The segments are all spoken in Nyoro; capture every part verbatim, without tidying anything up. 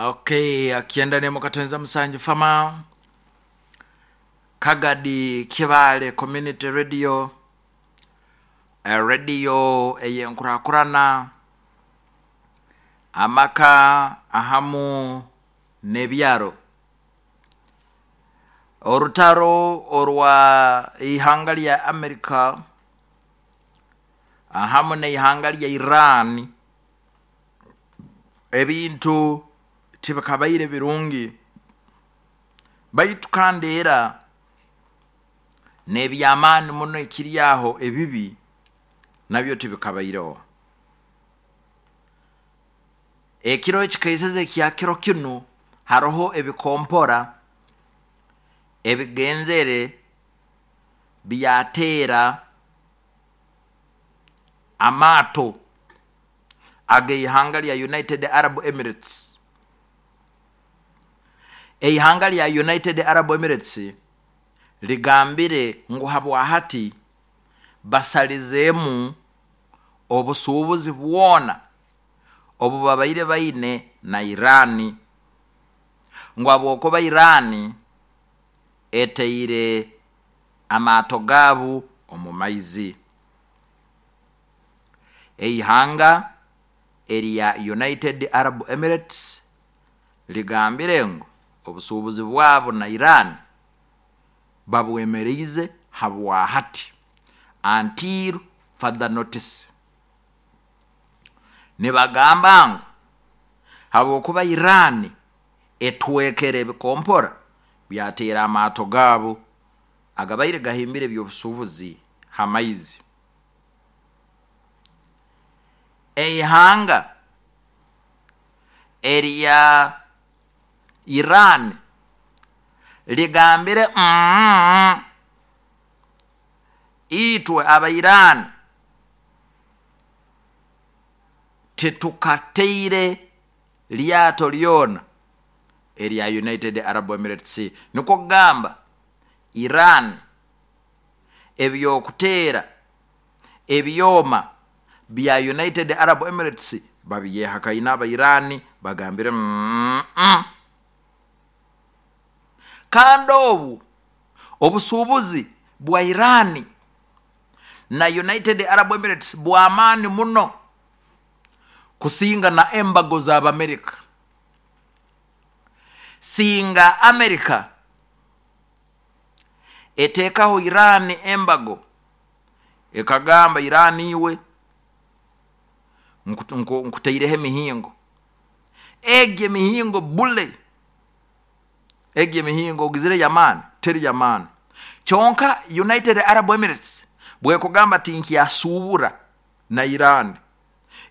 Okay, akienda nemo katenza musanju fama Kagadi Kibale Community Radio, eh, radio eyenkurakurana amaka ahamu n'ebyaro. Orutaro orwa ihanga lya America ahamu n'ihanga lya Iran, ebintu tibikabaire birungi, baitu kandi era n'ebyamaani muno ekiri aho ebibi nabyo tibikabaireho. Ekiro ekikaiseze ekya kiro kinu haroho ebikompora ebigenzere byateera amaato ag'eihanga lya United Arab Emirates. Eihanga lya United Arab Emirates ligambire ngu habwahati basalizeemu obusuubuzi bwona obu babaire baine na Irani, ngu habwokuba Irani eteire amaato gaabu omu maizi. Eihanga erya United Arab Emirates ligambire ngu obusuubuzi bwabo na Iran babwemereize habwahati until further notice. Nibagamba ngu habwokuba Iran etwekere ebikompora byateera amaato gaabo agabaire gahimbire ebyobusuubuzi ha maizi. Eihanga erya Iran ligambire mm, itwe aba Iran tetukateire lyato lyona erya United Arab Emirates. Nikwo kugamba Iran ebyokuteera ebyoma bya United Arab Emirates babyehakaine aba Iran, bagambire mm, mm. Kandi obu obusuubuzi bwa Iran na United Arab Emirates bw'amaani muno kusinga na embago z'Abamerika. Singa Amerika eteekaho Iran embago ekagamba Iran iwe nkutaireho emihingo, egi emihingo bule, egi emihingo ogizire yamaani teri yamaani. Kyonka United Arab Emirates bwekugamba tinkyasuubura na Iran,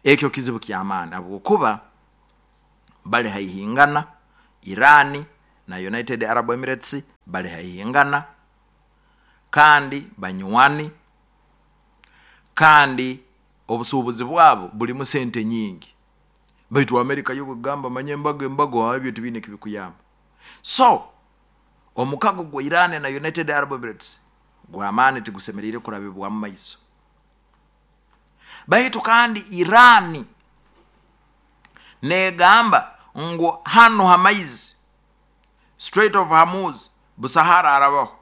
ekyo kizibu kyamaani habwokuba bali haihingana. Iran na United Arab Emirates bali haihingana kandi banywani, kandi obusuubuzi bwabo bulimu sente nyingi. Baitu Amerika yo bwegamba manye embago embago ebyo tibiine kibikuyamba. So omukago gwa Iran na United Arab Emirates gw'amaani, tigusemeriire kurabibwamu maiso. Baitu kandi Iran negamba ngu hano ha maizi Strait of Hormuz busahara arabaho,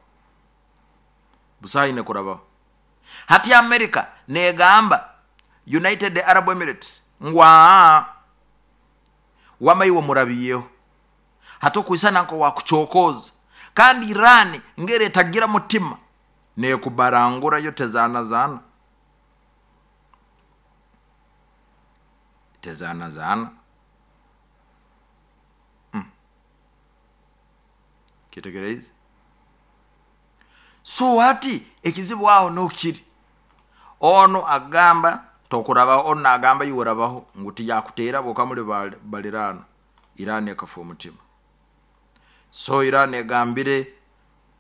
busaha kurabaho. Hati Amerika negamba United Arab Emirates ngu aa wamaiwe murabiyeho hati okwisana nko wakuchokoza. Kandi Iran ngere etagira mutima nekubarangura yo tezana zana tezana zana mm. Kitegereize. So hati ekizibu aho nokiri ono agamba tokurabaho, ono agamba iwe ngu tiyakuteera bokamuli balirano. Iran ekafa omutima. So Iran egambire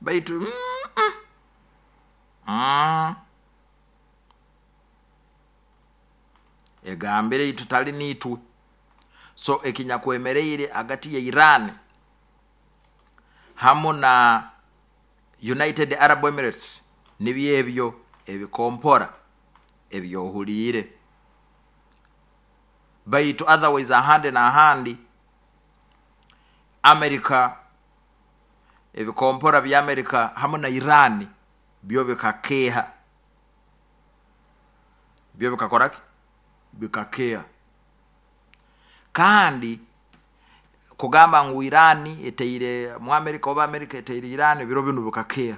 baitu mm, mm, mm. Egambire itutali nitwe. So ekinyakwemereire hagati ya Iran hamu na United Arab Emirates nibyo ebyo ebikompora ebyohuliire. Baitu otherwise ahandi n'ahandi Amerika, ebikompora bya Amerika hamu na Iran byo bikakeha, byo bikakoraki, bikakeha. Kandi kugamba ngu Iran eteire mu Amerika oba Amerika eteire Iran, biro binu bikakeha.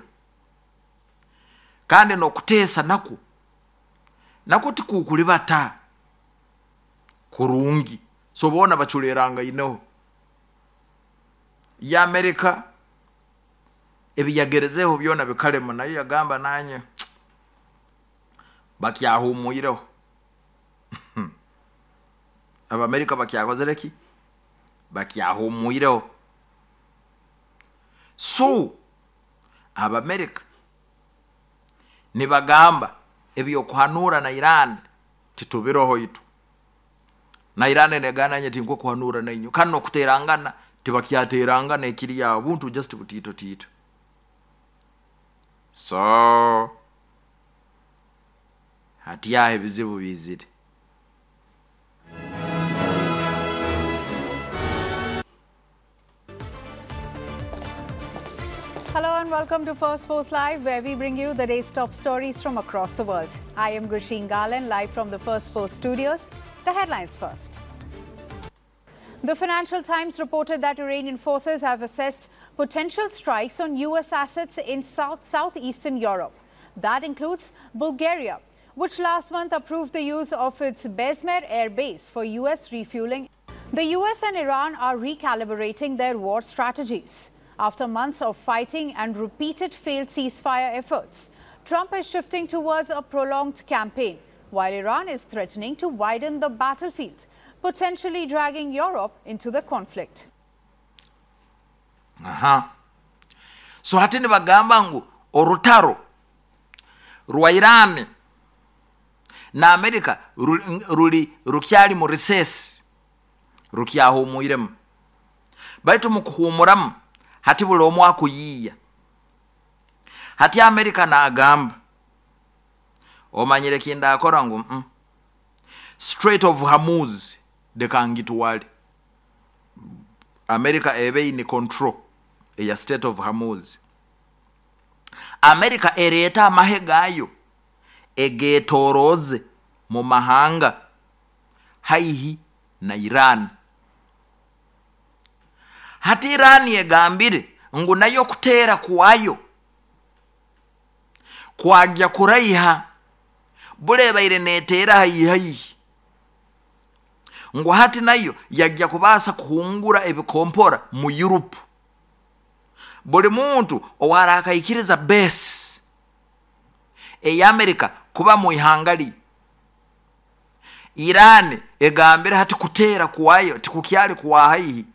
Kandi nokuteesa nakwo nakwo tikukulibata kurungi, so boona baculerangaineho. Ya Amerika ebiyagerezeho byona bikalema, nayo yagamba nanye bakyahumwireho. Abamerika bakyakozere ki? Bakyahumwireho. So Abamerika nibagamba ebyokuhanura na Iran titubiroho itu, na Iran negana nye tinkwe kuhanura na inyo, kandi nokuterangana tibakyaterangana ekiri yawo buntu just butito tito. So hati ebizibu bizire. Hello and welcome to First Post Live, where we bring you the day's top stories from across the world. I am Gursheen Garland, live from the First Post studios. The headlines first. The Financial Times reported that Iranian forces have assessed potential strikes on U S assets in South southeastern Europe. That includes Bulgaria, which last month approved the use of its Bezmer air base for U S refueling. The U S and Iran are recalibrating their war strategies. After months of fighting and repeated failed ceasefire efforts, Trump is shifting towards a prolonged campaign, while Iran is threatening to widen the battlefield, potentially dragging Europe into the conflict. Aha. So hati nibagamba ngu orutaro rwa Iran na Amerika ruli rukyali mu recess, rukyahumwiremu. Baitu mu kuhumuramu hati buli omu akuyiiya. Hati Amerika naagamba omanyire kindakora ngu mm, Strait of Hormuz dekangitwale. Amerika ebe in control eya Strait of Hormuz. Amerika ereeta amahe gayo egetoroze mu mahanga haihi na Iran. Hati Iran yegambire ngu nayo kuteera kuwayo kwajya kuraiha bulebaire neteera haihi haihi, ngu hati nayo yajya kubasa kuhungura ebikompora mu Europe. Buli muntu owarakaikiriza base eya Amerika kuba mu ihangali, Iran egambire hati kuteera kuwayo tikukyali kuwa haihi,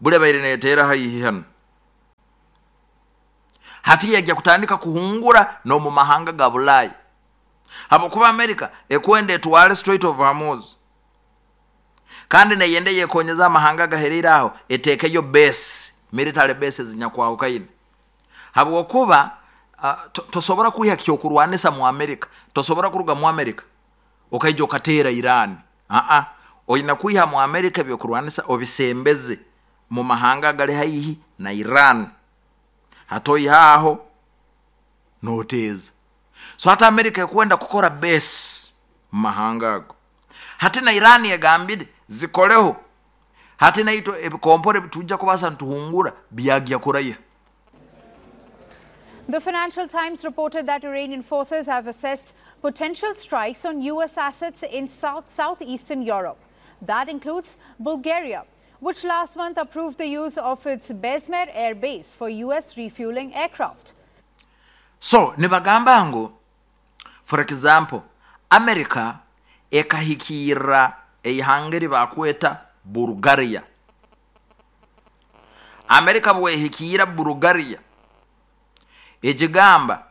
bulebaire neteera haihi hano. Hati yajya kutandika kuhungura no mu mahanga ga Bulaya. Hapo kuba Amerika ekwende etwale Strait of Hormuz, kandi neyende yekonyeza amahanga gaherera aho etekeyo base, military bases nyakwahukaine. Hapo kuba uh, tosobora kuiha kyokurwanisa mu Amerika, tosobora kuruga mu Amerika okaija okatera Iran. A a oyina kuiha mu Amerika byokurwanisa obisembeze mu mahanga gari haihi na Iran. Hatoihaho noteza. So hata Amerika ekwenda kukora base mu mahanga ago. Hati na Iran yegambire zikoleho. Hati na ito ebikompore tujja kubasa ntuhungura byagya kuraya. The Financial Times reported that Iranian forces have assessed potential strikes on U S assets in South southeastern Europe. That includes Bulgaria, which last month approved the use of its Bezmer air base for U S refueling aircraft. So, nibagamba ngu, for example, America ekahikira eihanga bakweta Bulgaria. America bwehikira Bulgaria ejigamba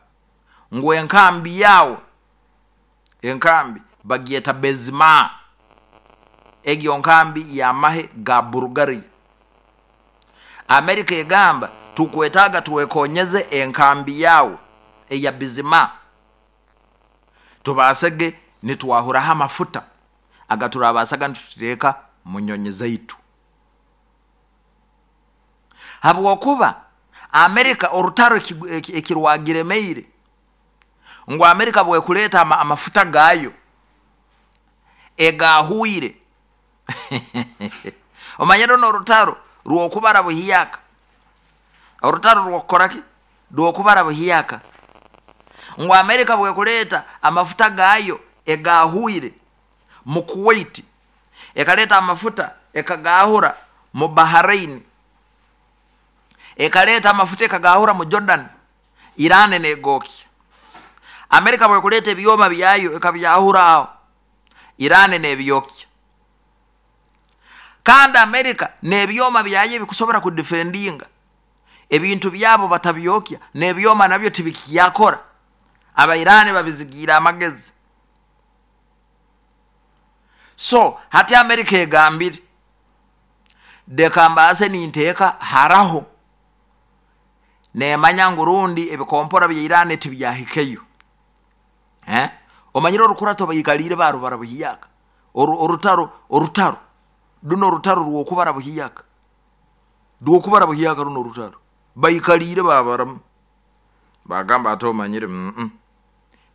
ngu enkambi yawo, enkambi bagieta Bezma, egyo nkambi ya mahe ga Bulgaria. Amerika egamba tukwetaga tuwekonyeze enkambi yawo eya Bizima, tubasege nitwahuraho amafuta agaturabasaga nitutereka mu nyonyi zaitu. Habwokuba Amerika orutaro ekirwagiremeire ngu Amerika bwekuleeta ama, amafuta gayo egahuire omanyire n'orutaro rwokubara buhiyaka, orutaro rwokukoraki rwokubara buhiyaka, ngu Amerika bwekuleeta amafuta gayo egahuire mu Kuwait, ekaleta amafuta ekagahura mu Bahrain, ekaleta amafuta ekagahura mu Jordan, Iran negokya. Amerika bwekuleta ebyoma byayo ekabyahura aho, Iran nebyokya. Kandi Amerika nebyoma byayo ebikusobora kudefendinga ebintu byabo batabyokya, nebyoma nabyo tibikiyakora. Aba Iran babizigira amagezi. So hati Amerika egambire dekambase ninteeka haraho nemanya ngurundi ebikompora bya Iran tibyahikeyo. Eh? Omanyire orukurato bayikalire barubara buhiyaka. Oru, orutaro orutaro duno orutaro rwokubara buhiyaka. Rwokubara buhiyaka runo orutaro. Bayikalire babaramu. Bagamba ato omanyire mm -mm.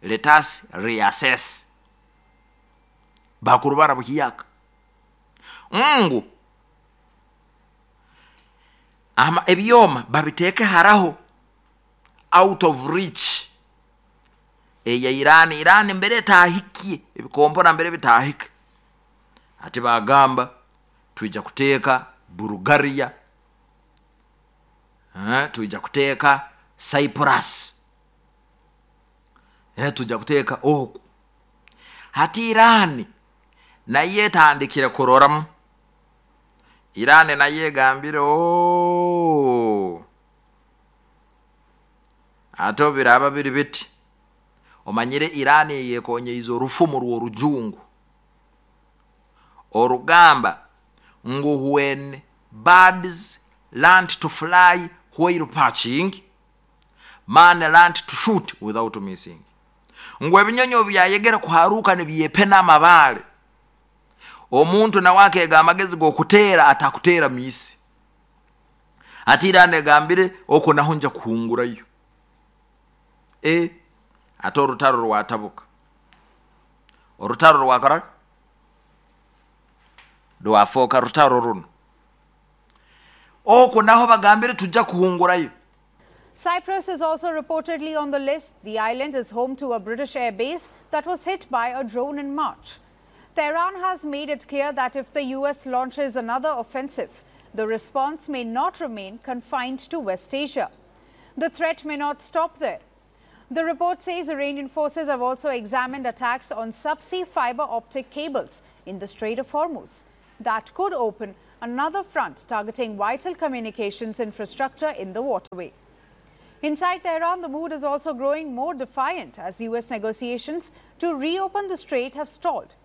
Let us reassess. Bakurubara buhiyaka. Ngu ama ebyoma babiteke haraho out of reach eya Iran. Iran mbere tahikie ebikompora mbere bitahike. Ati bagamba tuija kuteeka Bulgaria, eh, tuija kuteeka Cyprus, eh, tuija kuteeka oku. Hati Iran naye etandikire kuroramu. Iran naye egambire ooo ato biraba biri biti. Omanyire Iran yekonyeize orufumu rw'orujungu orugamba ngu when birds learned to fly while perching, man learned to shoot without missing. Ngu ebinyonyi byayegera kuharuka nibyepena amabale, omuntu nawe akega amagezi g'okuteera atakuteera misi. Ati Iran egambire okwo naho nja kuhungurayo. E ate orutaro rwatabuka. Orutaro rwakora rwafoka rutaro runo. Okwo naho bagambire tujja kuhungurayo. Cyprus is also reportedly on the list. The island is home to a British air base that was hit by a drone in March. Tehran has made it clear that if the U S launches another offensive, the response may not remain confined to West Asia. The threat may not stop there. The report says Iranian forces have also examined attacks on subsea fiber optic cables in the Strait of Hormuz. That could open another front targeting vital communications infrastructure in the waterway. Inside Tehran, the mood is also growing more defiant as U S negotiations to reopen the strait have stalled.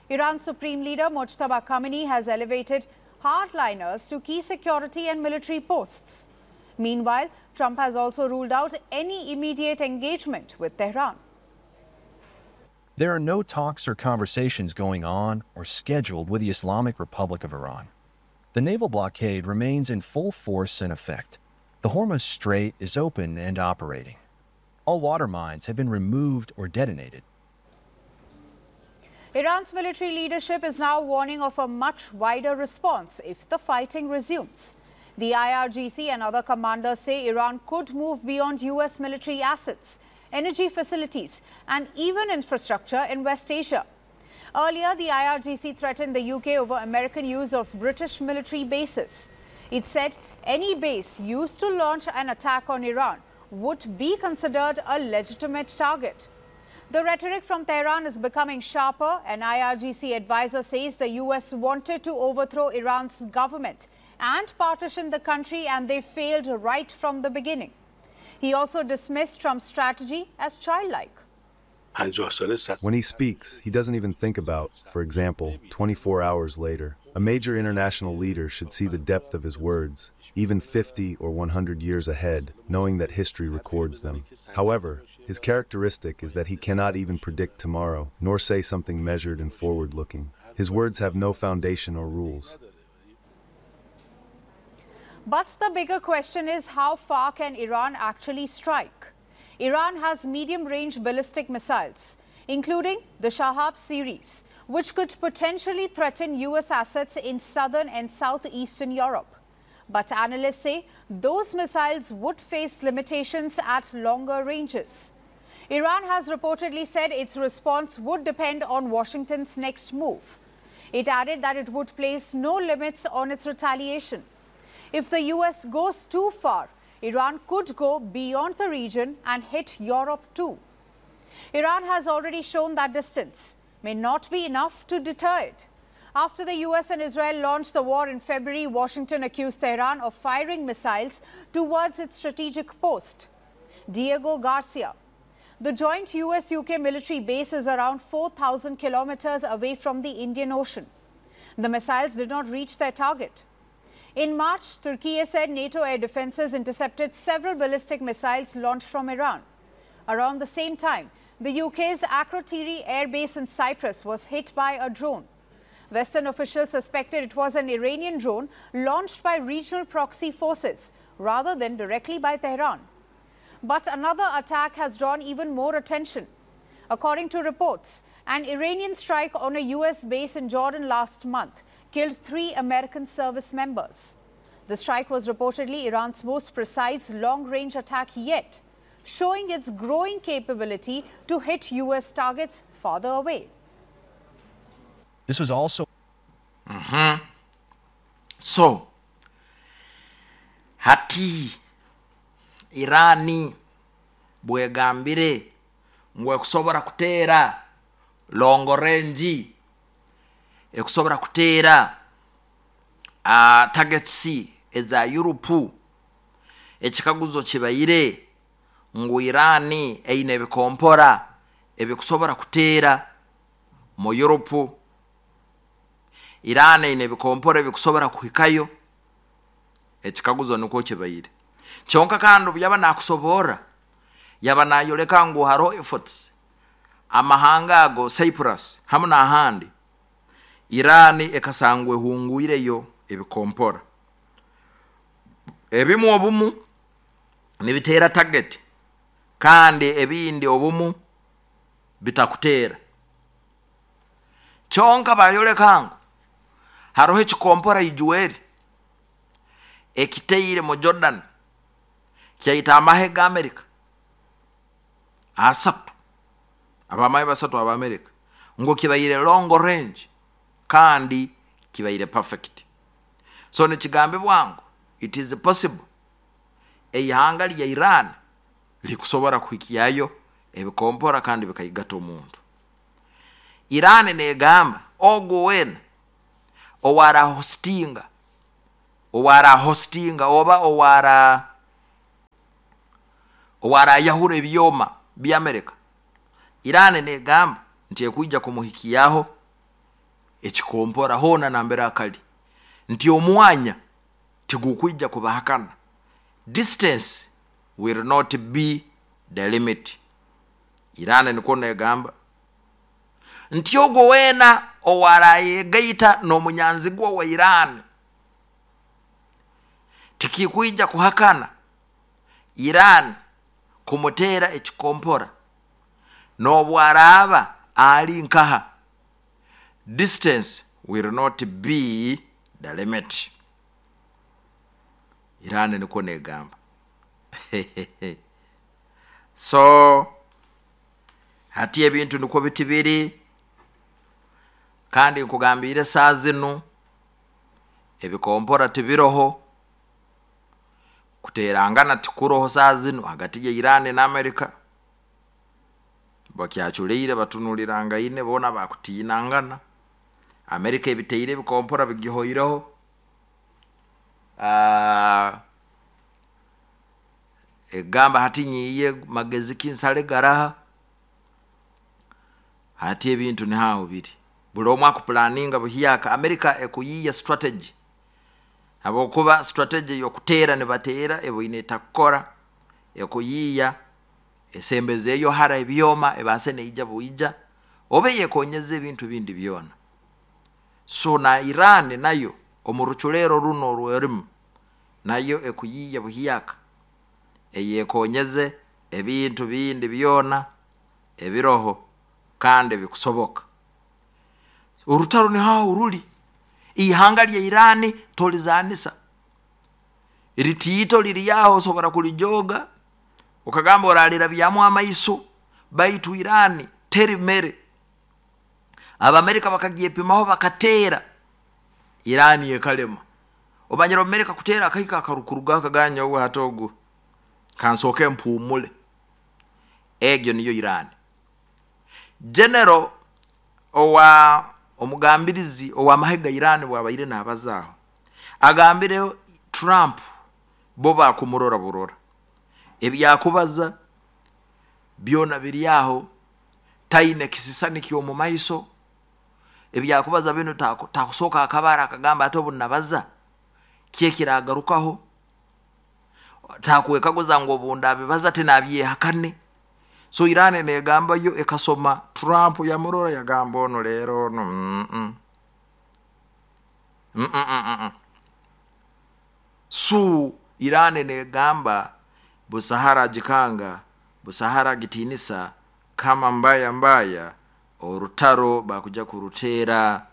Iran's Supreme Leader Mojtaba Khamenei has elevated hardliners to key security and military posts. Meanwhile, Trump has also ruled out any immediate engagement with Tehran. There are no talks or conversations going on or scheduled with the Islamic Republic of Iran. The naval blockade remains in full force and effect. The Hormuz Strait is open and operating. All water mines have been removed or detonated. Iran's military leadership is now warning of a much wider response if the fighting resumes. The I R G C and other commanders say Iran could move beyond U S military assets, energy facilities and even infrastructure in West Asia. Earlier, the I R G C threatened the U K over American use of British military bases. It said any base used to launch an attack on Iran would be considered a legitimate target. The rhetoric from Tehran is becoming sharper. An I R G C advisor says the U S wanted to overthrow Iran's government and partition the country, and they failed right from the beginning. He also dismissed Trump's strategy as childlike. When he speaks, he doesn't even think about, for example, twenty-four hours later. A major international leader should see the depth of his words, even fifty or one hundred years ahead, knowing that history records them. However, his characteristic is that he cannot even predict tomorrow, nor say something measured and forward-looking. His words have no foundation or rules. But the bigger question is, how far can Iran actually strike? Iran has medium-range ballistic missiles, including the Shahab series, which could potentially threaten U S assets in southern and southeastern Europe. But analysts say those missiles would face limitations at longer ranges. Iran has reportedly said its response would depend on Washington's next move. It added that it would place no limits on its retaliation. If the U S goes too far, Iran could go beyond the region and hit Europe too. Iran has already shown that distance may not be enough to deter it. After the U S and Israel launched the war in February, Washington accused Tehran of firing missiles towards its strategic post, Diego Garcia. The joint U S U K military base is around four thousand kilometers away from the Indian Ocean. The missiles did not reach their target. In March, Turkey said NATO air defenses intercepted several ballistic missiles launched from Iran. Around the same time, the U K's Akrotiri air base in Cyprus was hit by a drone. Western officials suspected it was an Iranian drone launched by regional proxy forces rather than directly by Tehran. But another attack has drawn even more attention. According to reports, an Iranian strike on a U S base in Jordan last month killed three American service members. The strike was reportedly Iran's most precise long-range attack yet, showing its growing capability to hit U S targets farther away. This was also... Mm-hmm. So, hati Irani bwegambire ngu ekusobora kuteera long range, ekusobora kuteera uh, targets eza Europe, ekikaguzo kibaire ngu Irani eine ebikompora ebikusobora kuteera mu Europe. Irani eine ebikompora ebikusobora kuhikayo. Ekikaguzo niko kibaire. Kyonka kandi byaba nakusobora yaba nayoleka ngu haro efforts amahanga ago Cyprus hamu n'ahandi Irani ekasangwe hunguireyo ebikompora ebimu obumu nibitera target kandi ebindi obumu bitakutera. Kyonka bayoleka ngu haroho ekikompora ijuweri ekiteire mu Jordan kyaita amahe ga Amerika asatu, abamahe basatu aba Amerika, ngo kibaire long range kandi kibaire perfect. So nekigambe bwangu it is possible eihanga lya Iran likusobora kuhikiyayo ebikompora kandi bikaigata omuntu. Iran negamba ogo wena owara hostinga owara hostinga oba owara owara yahura ebyoma bya Amerika, Iran negamba nti ekuija kumuhikiyaho ekikompora hona nambera akali nti omwanya tigukuija kubahakana. Distance will not be the limit. Iran niko negamba nti ogo wena owarayegaita n'omunyanzigwa wa Iran tikikuija kuhakana Iran kumutera ekikompora n'obwaraba ali nkaha. Distance will not be the limit. Iran niko negamba. So hati ebintu niko bitibiri kandi nkugambire saa zinu ebikompora tibiroho, kuterangana tikuroho saa zinu hagati ya Iran na Amerika. Bakyachuleire batunuliranga bona bakutinangana. Amerika ebiteire ebikompora bigihoireho. Ah, egamba hati nyiye magezi kinsale garaha. Hati ebintu ni hao biri. Buli omwe akupulaninga buhiyaka. Amerika ekuyiya strategy. Habwokuba strategy yokuteera nibateera eboine etakukora ekuyiya esembezeeyo hara ebyoma ebase neija buija obe yekonyeza ebintu bindi byona. So na Iran nayo omu ruculero runo rwerimu Nayo ekuyiya buhiyaka eyekonyeze ebintu bindi byona ebiroho kandi bikusoboka. Urutaro ni hao uruli. Ihanga lya Irani tolizanisa. Ritiito liri yaho osobora kulijoga ukagamba oralira byamu amaiso, baitu Irani teri mere. Abamerika bakagyepimaho bakatera Irani ekalema. Obanyira Amerika kutera akahika akarukuruga akaganya owe hatogo kansoke mpumule. Egyo niyo Irani. General owa omugambirizi owa mahega Irani bwabaire nabazaho agambire Trump bo bakumurora burora ebyakubaza byona biri aho, taine kisisani kyomu maiso. Ebyakubaza bino takusoka akabara akagamba ate obunabaza kyekiragarukaho, takwekaguza ngo obunda bibaza tinabyehakane. So Irani negamba yo ekasoma Trump yamurora yagamba ono lero ono mm -mm. Mm -mm -mm. So Irani negamba busahara jikanga busahara gitinisa kama mbaya mbaya orutaro bakuja kurutera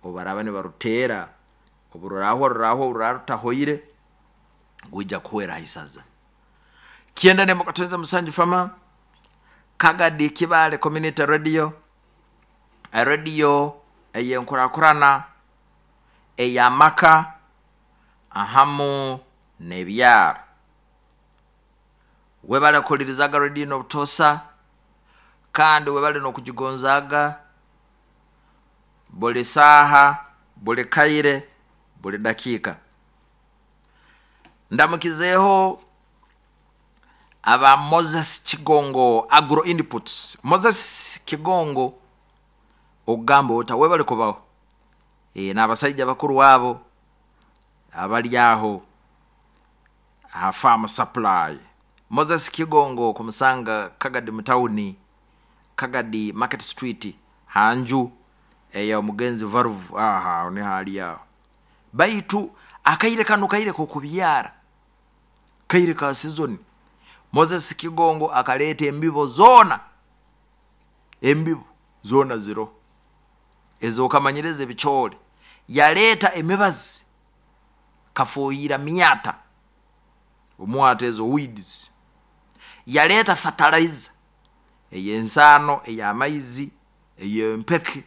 obaraba ne barutera obururaho ruraho ruratahoire guja kuwera hisaza. Kienda ne mukatenza musanji fama Kagadi Kibale Community Radio, a radio eyenkurakurana eyamaka ahamu nebyaro. Webale kulirizaga radio nobutosa kandi webale nokujigonzaga buli saha buli kaire buli dakika. Ndamukizeho aba Moses Kigongo Agro Inputs. Moses Kigongo ogamba ota webale kubaho e, n'abasajja bakuru wabo abali aho aha farm supply. Moses Kigongo kumusanga Kagadi mutawuni Kagadi Market Street hanju eya omugenzi Valve aha ni hali yao. Baitu akaire kanu kaire ko kubyara kaire ka season. Moses Kigongo akaleta embibo zona, embibo zona zero ezo kamanyereze bichole. Yaleta emibazi kafoyira miata omwate ezo weeds. Yaleta fertilizer eyensano eyamaizi eyempeke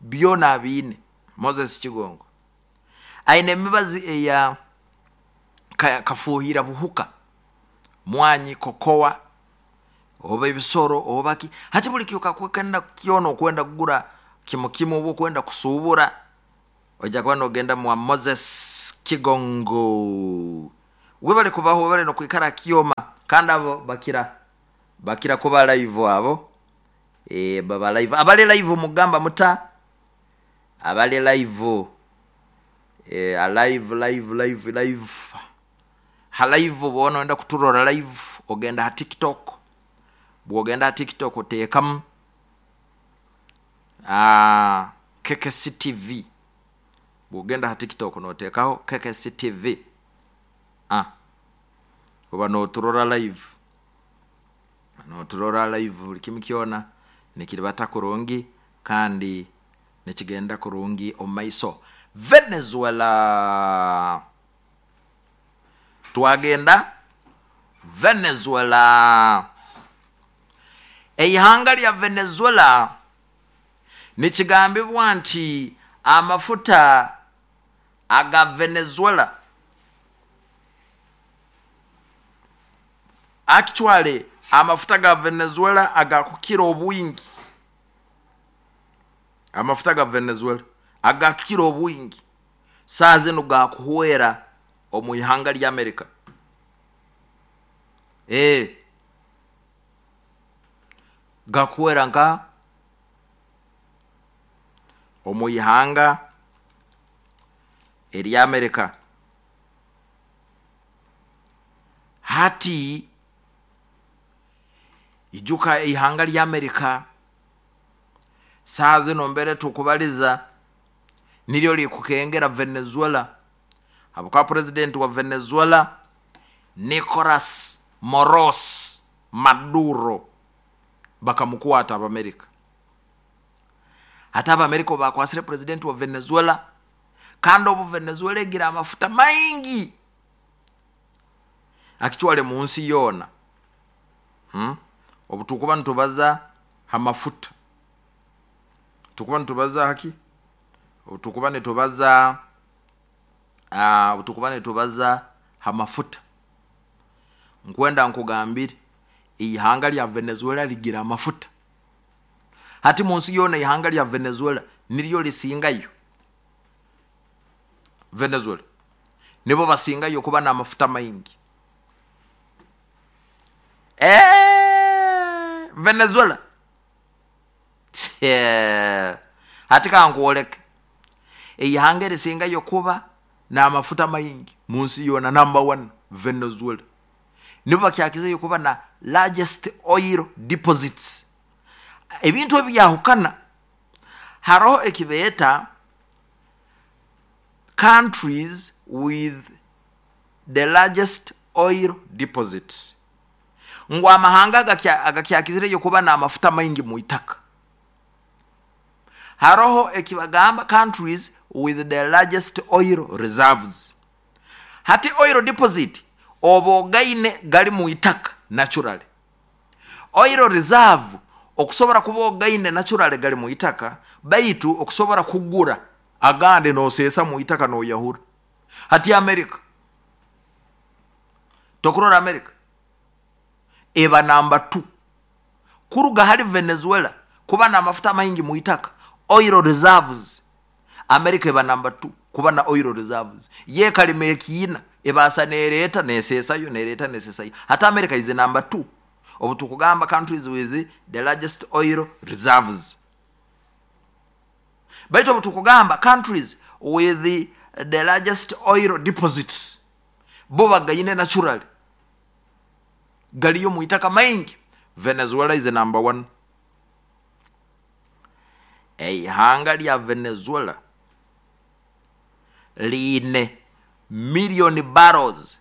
byona bine. Moses Kigongo aine emibazi eya kafuhira buhuka mwanyi kokoa oba ebisoro oba ki hati buli kyoka kwenda kiono kwenda kugura kimukimu obo kwenda kusubura oja kwenda ogenda mwa Moses Kigongo. Webale kubaho webale no kwikara kioma kandi abo bakira bakira kuba live abo e baba live abale live mugamba muta abale live e alive live live live ha live bono enda kuturora live ogenda ha TikTok. Bwogenda ha TikTok oteekamu ah K K C T V. Bwogenda ha TikTok noteekaho K K C T V ah oba noturora live noturora live buli kimu kyona nikiribata kurungi kandi nikigenda kurungi omaiso. Venezuela twagenda Venezuela. Eihanga lya Venezuela nikigambibwa nti amafuta aga Venezuela actually amafuta ga Venezuela agakukira obwingi, amafuta ga Venezuela agakukira obwingi saa zino gakuhwera omu ihanga lya Amerika. Eh gakuhwera nka omu ihanga erya Amerika. Hati ijuka ihanga lya Amerika saa zino mbere tukubaliza nilyo likukengera Venezuela Habwokuba president wa Venezuela Nicolas Moros Maduro bakamukwata Abamerika. Hata Abamerika bakwasire president wa Venezuela, kandi obu Venezuela egira amafuta maingi akitwale mu nsi yoona. Hmm? Obu tukuba nitubaza hamafuta, tukuba nitubaza haki, obu tukuba nitubaza uh, obu tukuba nitubaza hamafuta, nkwenda nkugambire ihanga lya Venezuela ligira amafuta. Hati mu nsi yoona ihanga lya Venezuela niryo lisingayo. Venezuela nibo basingayo kuba n'amafuta maingi. Eh, Venezuela hati kankwoleke ihanga erisingayo kuba n'amafuta maingi mu nsi yoona, number one Venezuela nibo bakyakizeyo kuba na largest oil deposits. Ebintu ebyahukana, haroho ekibeeta countries with the largest oil deposits, ngu amahanga agakyakizireyo kuba n'amafuta maingi mu itaka. Haroho ekibagamba countries with the largest oil reserves. Hati oil deposit oba ogaine gali mu itaka naturally. Oil reserve okusobora kuba ogaine naturally gali mu itaka, baitu okusobora kugura agandi noseesa mu itaka noyahura. Hati America, tokurora America eba namba two kuruga hali Venezuela kuba n'amafuta maingi mu itaka, oil reserves. America eba namba two kuba na oil reserves. Ye kalima ekiina ebasa nereeta neseesayo nereeta neseesayo. Hati America is number two obu tukugamba countries with the largest oil reserves. Baitu obu tukugamba countries with the, the largest oil deposits, bo bagaine naturally galiyo mu itaka maingi. Venezuela is number one. Eihanga lya Venezuela liine million barrels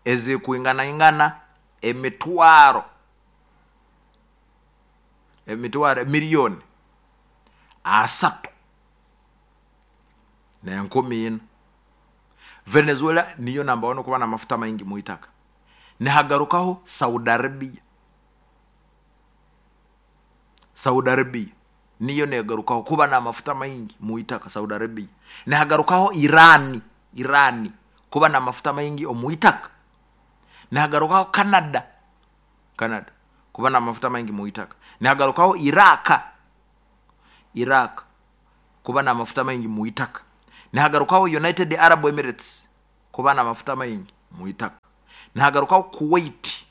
ezikwinganaingana emitwaro emitwaro miliyoni asatu n'enkumi ina. Venezuela niyo namba one kuba n'amafuta maingi mu itaka. Nihagarukaho Saudi Arabia. Saudi Arabia niyo negarukaho kuba n'amafuta maingi mu itaka, Saudi Arabia. Nihagarukaho Irani, Irani kuba n'amafuta maingi omu itaka. Nihagarukaho Canada, Canada kuba n'amafuta maingi mu itaka. Nihagarukaho Iraq, Iraq kuba n'amafuta maingi mu itaka. Nihagarukaho United Arab Emirates kuba n'amafuta maingi mu itaka. Nihagarukaho Kuwait,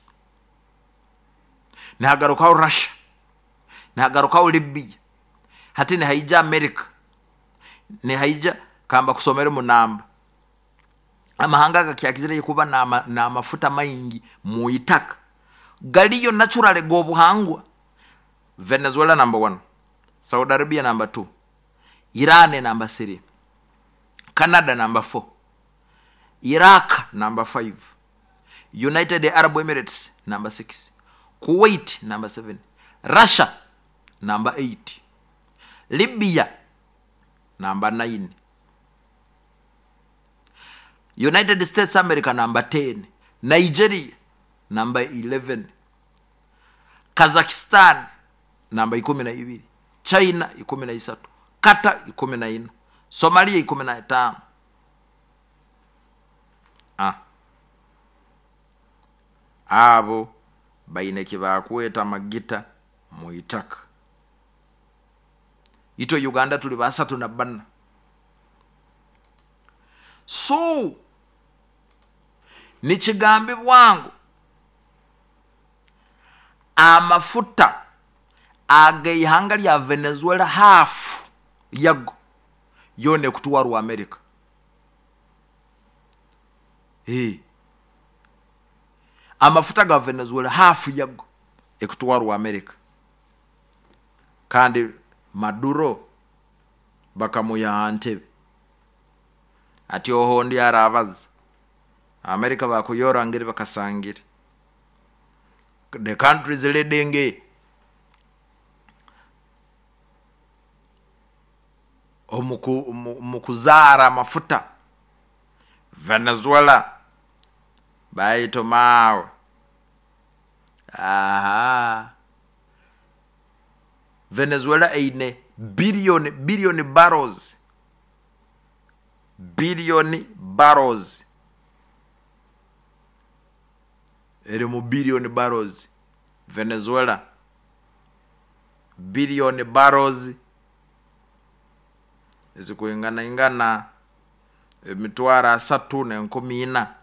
nihagarukaho Russia, nihagarukaho Libya. Hati nihaija America, nihaija kamba kusomera munamba amahanga agakyakizire kuba n'amafuta maingi mu itaka galiyo naturally g'obuhangwa. Venezuela number one, Saudi Arabia number two, Iran number three, Canada number four, Iraq number five, United Arab Emirates number six, Kuwait number seven, Russia number eight, Libya number nine, United States America number ten, Nigeria number eleven, Kazakhstan namba ikumi na ibiri, China ikumi na isatu, Qatar ikumi na ina, Somalia ikumi na tano. Ah. Abo baine kibakweta amagita mu itaka. Ito Uganda tuli basatu na bana. So nikigambibwa ngu amafuta ag'eihanga lya Venezuela half yago yone kutwarwa America. Eh. Amafuta ga Venezuela half yago ekutwarwa America. Kandi Maduro bakamuya ntebe. Ati ohondi arabaza Amerika bakuyora ngeri bakasangire the countries leading omu kuzaara amafuta Venezuela baito mawe. Aha, Venezuela eine billion billion barrels billion barrels eri mu billion barrels Venezuela billion barrels ezikuingana ingana emitwaro asatu n'enkumi ina.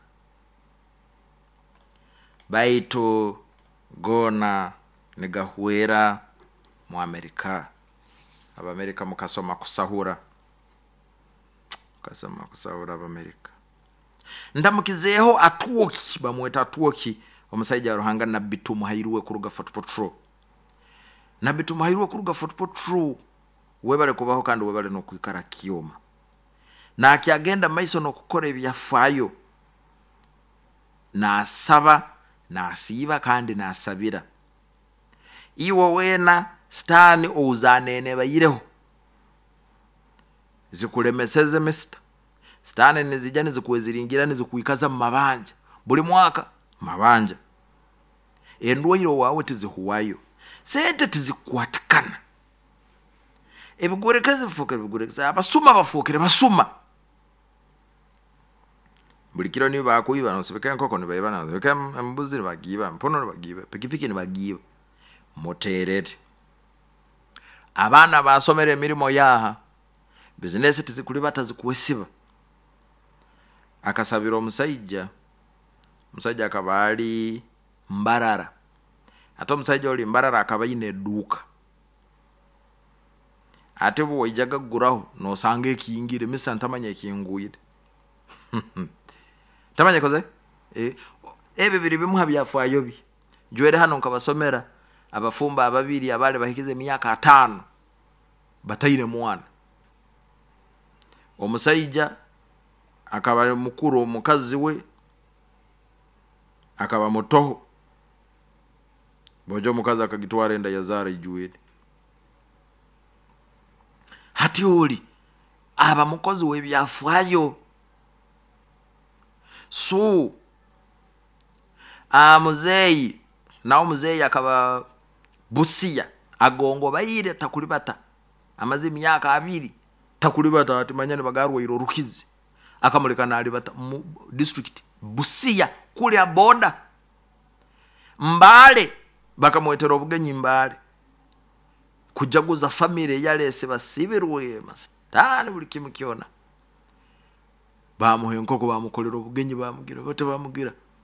Baitu gona nigahwera mu Amerika. Abamerika mukasoma kusahura, mukasoma kusahura Abamerika. Ndamukizeeho Atwoki, bamweta Atwoki, omusajja wa Ruhanga Nabbi Tumuhairwe kuruga Fort Portal. Nabbi Tumuhairwe kuruga Fort Portal, webale kubaho kandi webale n'okwikara kyoma. Nakyagenda maiso n'okukora ebyafaayo, nasaba, nasiiba kandi nasabira. Iwe wena sitaani ouzanene bayireho zikulemeseze misita. Sitaani nizija nizikuweziringira nizikuikaza mu mabanja buli mwaka mabanja. Endwaire wawe tizihuwayo, sente tizikwatikana, ebigurekeze bifukire bigurekeze, abasuma bafukire basuma. Buli kiro niyo bakuiba, nosibika enkoko nibaiba, nosibika embuzi nibagiiba, mpono nibagiiba, pikipiki nibagiiba. Muterere abaana basomera emirimo yaha, bizinesi tizikulibata zikuwesiba. Akasabira omusajja, omusajja akaba ali Mbarara. Ate omusajja oli Mbarara akaba ayine edduuka. Ate bwe waijaga kuguraho nosanga ekiyingire, misa ntamanya ekingwire. Ntamanya koze? E, ebyo biri bimu ha byafaayo bye. Njwere hano nkabasomera abafumba ababiri abali bahikize emyaka ataano bataine mwana. Omusajja akaba mukuru, omukazi we akaba mutoho. Bojo omukazi akagitwara enda yazara ijwire. Hati oli aba mukozi w'ebyafaayo. So amuzeeyi nawe omuzeeyi akaba Busia agongo baire takulibata amaze emyaka abiri takulibata ati manya nibagarwaire orukizi akamuleka nalibata mu district Busia kulya boda Mbale bakamwetera obugenyi Mbale kujaguza family yalese basibirwe masitani buli kimu kyona bamuha enkoko bamukolera obugenyi bamugira bote bamugira